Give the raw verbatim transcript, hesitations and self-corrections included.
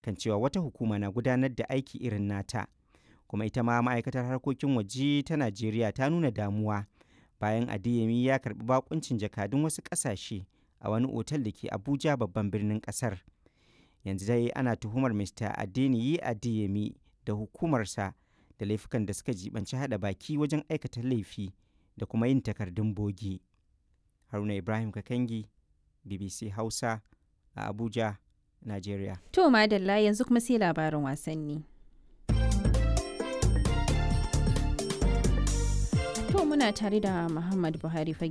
Kan cewa wata hukuma na gudanar da aiki irin nata. Kuma ita ma ma'aikatar harkokin waje ta Najeriya ta nuna damuwa bayan Adeyemi ya karɓi bakuncin jakadun wasu ƙasashe a wani otal da ke Abuja, babban birnin ƙasar. Yanzu dai ana tuhumar Mister Adeniyi Adeyemi da hukumarsa da laifukan da suka jibanci haɗa baki wajen aikata laifi da kuma yin takardun bogi. Haruna Ibrahim Kakangi, B B C Hausa, a Abuja, Najeriya. To madalla, yanzu kuma sai labarin wasanni. To muna tare da Muhammad Buhari Fage.